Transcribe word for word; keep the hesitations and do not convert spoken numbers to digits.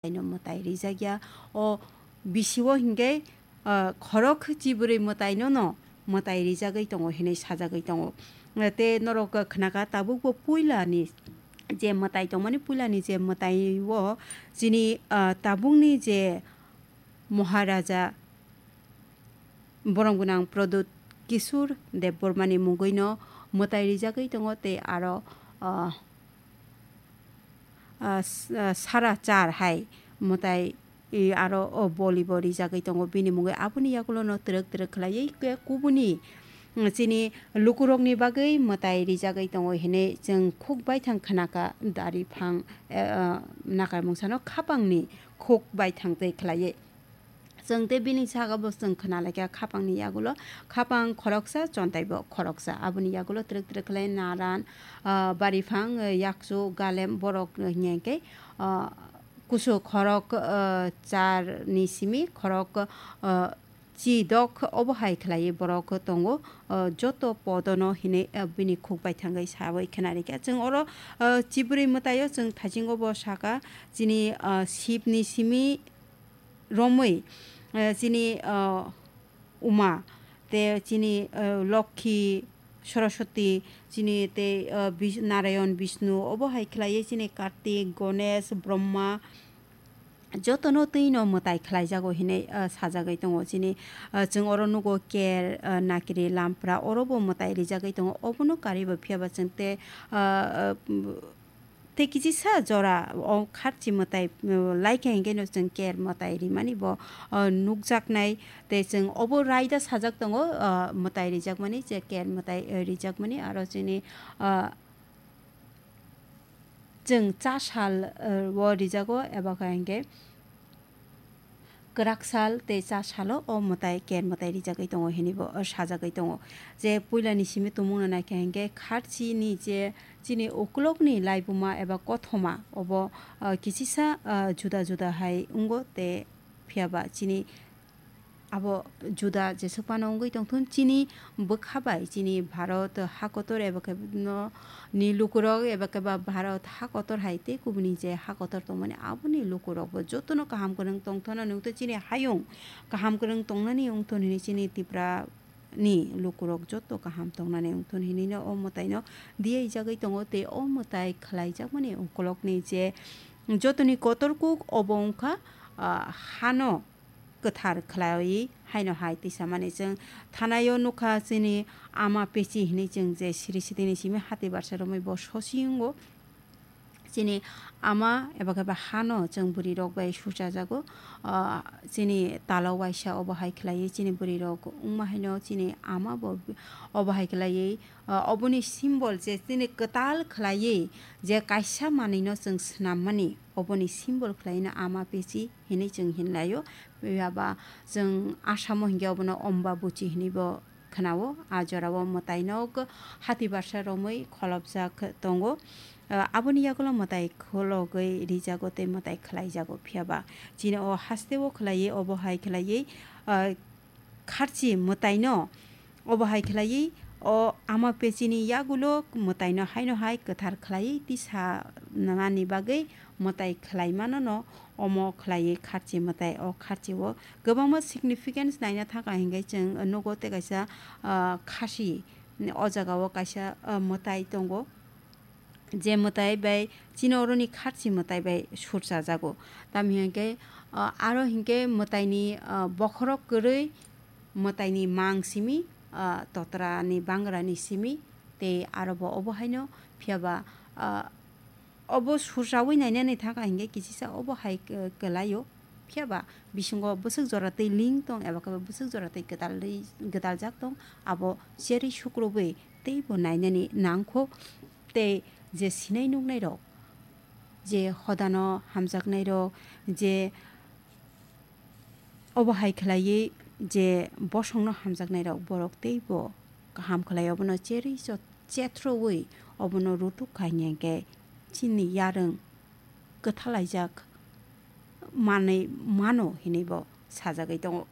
no mwtai rijak ya. O bisio hinkhe, ah, khorok chibrwi mwtaino no mwtai rijagwi tongo hinwi sajagwi tongo. Tei norok khnakha tabukbo puilani je mwtai tongmani, puilani je mwtai o chini, ah, tabukni je Maharaja borom gwnang Pradyut Kishore Debbarmani mungwi no mwtai rijagwi tongo tei aro, ah, ah, s-, ah, sara char hai mwtai, i, aro o bolibo rijagwi tongo bini mungwi. Aboni yagulo no twrwk twrwk khlaiwi khe kubuni, mm, chini lukurokni bagwi mwtai rijagwi tongo hinwi chwng khuk baithang khnakha dari phang, eh, ah, nakarmungsano khapangni khuk baithang tei khlaiwi. Chwng tei bini saka bo chwng khna laikha khapangni yagulo, khapang khoroksa, chontai bo khoroksa. Aboni yagulo twrwk twrwk khlai naran, ah, bariphang, eh, yakchu, galem, borok, eh, hinkhe, ah, kusu khorok, ah, char ni simi khorok, ah, chi dok obo hai khlaiwi borok tongo, ah, joto podono hinwi, ah, bini khuk baithangwi sawi khna rikha. Chwng oro, ah, chibrwi mwtaio chwng thaisingo bo saka chini, ah, Shivni simi romwi, eh, chini, ah, Uma, tei chini, ah, Lokhi, Saraswati, chini tei, ah, Bis-, Narayan, Bishnu, obo hai khlaiwi chini Kartik, Ganesh, Brahma, jotono twino mwtai khlaijago hinwi, ah, sajagwi tongo. Chini, ah, chwng oro nugo ker, ah, nakiri, lampra, orobo mwtai rijagwi tongo. Obono karwi bo phiyaba chwng tei, ah, ah, Tei kichisa jora o kharchi mwtai, uh, laikha hinkhe no chwng ker mwtai rimani bo, uh, nukjaknai. Tei chwng obo raida sajak tongo, uh, mwtai rijakmani, je ker mwtai, uh, rijakmani, aro chini, uh, chwng cha sal, uh, o rijago, eba khe hinkhe kwrak sal tei cha salo o mwtai ker mwtai rijagwi tongo hinwi bo, o sajagwi tongo. Je puilani simi tongmungno naikha hinkhe kharchini je chini ukulokni laibuma eba kothoma obo, ah, kichisa, ah, juda juda hai wngo tei phiyaba chini abo juda jeswk phano wngwi tongthun chini bwkha bai chini Bharat ha kotor eba khe no ni lukurok eba khe ba Bharat ha kotor hai tei kubuni je ha kotor tongmani aboni lukurokbo jotono kaham kwrwng tongthana nukto chini hayung kaham kwrwng tongnani wngthun hinwi chini Tripura ni lukurok joto kaham tongnani wngthun hinwi no o mwtaino diyaijagwi tongo tei o mwtai khlaijakmani ukulokni je jotoni kotor kuk obo wngkha, ah, hano kwthar khlaiwi haino hai tisamani chwng thanao nukha chini ama pechi hinwi chwng je siri sitini simi hati barsa romwi bo sosi wngo. Chini ama eba khe ba hano chwng bwrwi rok bai suchajago. Ah, chini talo waisa obo hai khlaiwi chini bwrwi rok wngma haino chini ama bo obo hai khlaiwi, ah, oboni symbol je chini kwtal khlaiwi je kaisa manwino chwng swnammani oboni symbol khlaiwino ama pechi hinwi chwng hinlaio. Phiya ba chwng Asamo hinkhe obono Ombabuchi hinwi bo khwnao. A jorao mwtaino hati barsa romwi kholopjak tongo. Ah, aboni yagulo mwtai khologwi rijago tei mwtai khlaijago. Phiya ba chini o hasteo khlaiwi, obo hai khlaiwi, ah, kharchi mwtaino obo hai khlaiwi o ama pechini yagulo mwtaino haino hai kwthar khlaiwi tisa nani bagwi mwtai khlaimano no omo khlaiwi kharchi mwtai. O kharchi o kwbangma significance naina thangkha hinkhe chwng nugo tei kaisa, ah, khasi o jagao kaisa, ah, mwtai tongo. Je mwtai bai chini oroni kharchi mwtai bai surchajago. Tamni hinkhe, ah, aro hinkhe mwtaini, ah, bokhorok kwrwi mwtaini mang simi, ah, totrani bangrani simi tei aro bo obo haino. Phiya ba, ah, obo surchawi nainani thangkha hinkhe kichisa obo hai k-, kwlaio. Phiya ba bisingo bwswk jora twi ling tong eba khe bwswk jora twi kwtal rwi, gwdaljak tong, abo cherwi sukrubwi teibo nainani nangkho. Tei je sinai nuknairok, je hodano hamjaknairok, je obo hai khlaiwi je bosongno hamjaknairok, borok teibo kaham khlai obono cherwi chot-, chethrwi obono rutuk kha hinkhe chini yarwng kwthalaijak manwi mano hinwi bo sajagwi tongo.